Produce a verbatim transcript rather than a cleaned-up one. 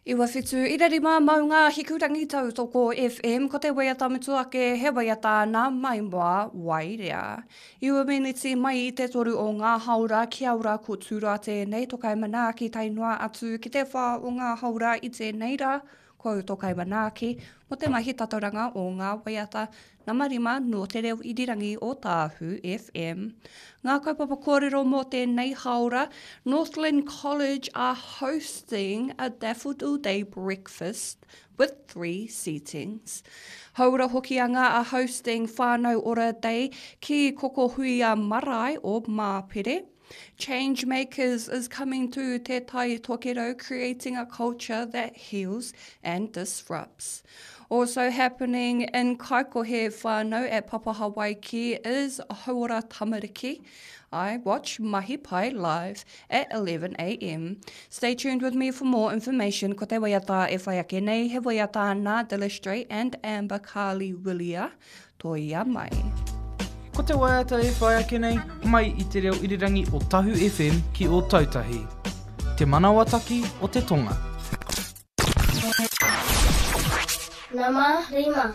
Iwa whitu ira rima maunga Hikurangi Tautoko FM ko te waiata mutu ake he waiata nā Maimoa Wairea. Iwa meneti mai i te toru o ngā haora kia ora ko Tūroa tēnei tokai manaaki tae noa atu ki te whā o ngā haora i tēnei rā ko tokai manaaki mo te mahi tatauranga o ngā waiata nama rima nō te reo irirangi o Tāhu FM. Ngā kaupapa kōrero mō tēnei haora, Northland College are hosting a Daffodil Day breakfast with three seatings. Hauora Hokianga are hosting Whānau Ora Day ki Kokohuia Marae o Māpere. Changemakers is coming to Te Tai Tokerau, creating a culture that heals and disrupts. Also happening in Kaikohe whānau at Papa Hawaiki is Hauora Tamariki. I watch Mahi Pai live at eleven a m. Stay tuned with me for more information. Ko te waiata e whai ake nei, he waiata nā Dillistrate and Amber Carly Willia. Toia mai. Ko te waiata e whai ake nei, mai i te reo irirangi o Tahu F M ki Ōtautahi. Te manawataki o te tonga. Nama rima.